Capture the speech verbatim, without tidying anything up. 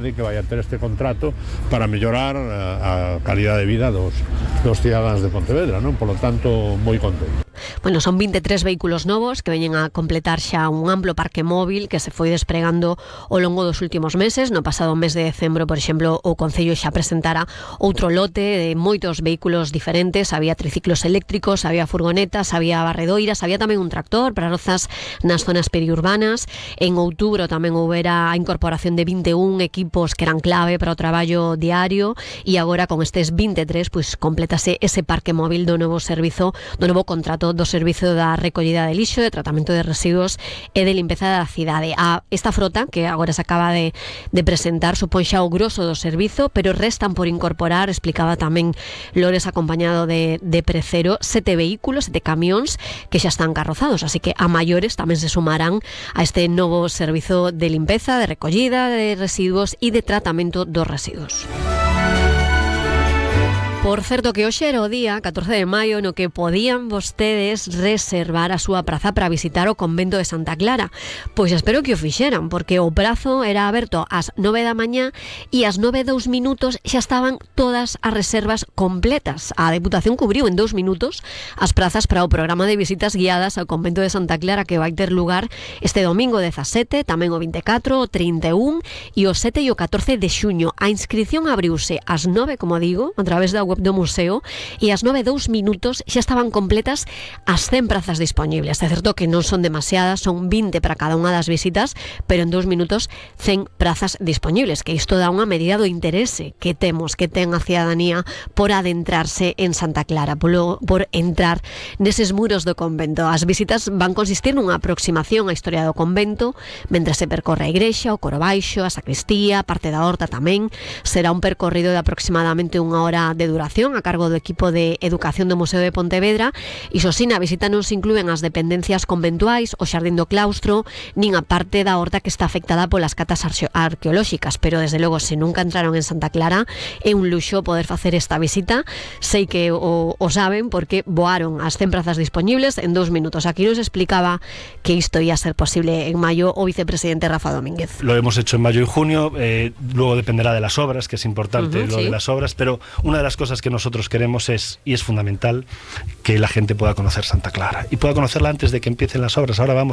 de que vai a ter este contrato para mellorar a, a calidad de vida dos, dos cidadáns de Pontevedra, non? Por lo tanto, moi contento. Bueno, son vinte e tres vehículos novos que veñen a completar xa un amplo parque móvil que se foi despregando ao longo dos últimos meses. No pasado mes de decembro, por exemplo, o Concello xa presentara outro lote de moitos vehículos diferentes. Había triciclos eléctricos, había furgonetas, había barredoiras, había tamén un tractor para rozas nas zonas periurbanas. En outubro tamén houbera a incorporación de vinte e un equipos que eran clave para o traballo diario, e agora con estes vinte e tres pois completase ese parque móvil do novo servizo, do novo contrato do servizo da recollida de lixo, de tratamento de residuos e de limpeza da cidade. A esta frota, que agora se acaba de, de presentar, supón xa o grosso do servizo, pero restan por incorporar, explicaba tamén Lores acompañado de, de Precero, sete vehículos, sete camións que xa están carrozados, así que a maiores tamén se sumarán a este novo servizo de limpeza, de recollida de residuos e de tratamento dos residuos. Por certo que hoxe era o día catorce de maio no que podían vostedes reservar a súa praza para visitar o convento de Santa Clara. Pois espero que o fixeran, porque o prazo era aberto ás nove da mañá e ás nove e dous minutos xa estaban todas as reservas completas. A Deputación cubriu en dous minutos as prazas para o programa de visitas guiadas ao convento de Santa Clara que vai ter lugar este domingo dezasete, tamén o vinte e catro, o trinta e un e o sete e o catorce de xuño. A inscripción abriuse ás nove, como digo, a través da web do museo, e ás nove e dous minutos xa estaban completas as cen prazas dispoñibles. É certo que non son demasiadas, son vinte para cada unha das visitas, pero en dous minutos cen prazas dispoñibles, que isto dá unha medida do interese que temos, que ten a cidadanía por adentrarse en Santa Clara, por, por entrar neses muros do convento. As visitas van consistir nunha aproximación á historia do convento, mentre se percorre a igrexa, o coro baixo, a sacristía, parte da horta tamén. Será un percorrido de aproximadamente unha hora de duración a cargo do equipo de educación do Museo de Pontevedra, e xo si na visita non se inclúen as dependencias conventuais, o xardín do claustro, nin a parte da horta que está afectada polas catas arqueolóxicas, pero desde logo se nunca entraron en Santa Clara é un luxo poder facer esta visita. Sei que o, o saben porque voaron as cen prazas dispoñibles en dous minutos. Aquí nos explicaba que isto ia ser posible en maio o vicepresidente Rafa Domínguez. Lo hemos hecho en mayo y junio, eh, luego dependerá de las obras, que es importante uh-huh, lo sí. de las obras, pero una de las cosas que nosotros queremos es, y es fundamental, que la gente pueda conocer Santa Clara y pueda conocerla antes de que empiecen las obras. Ahora vamos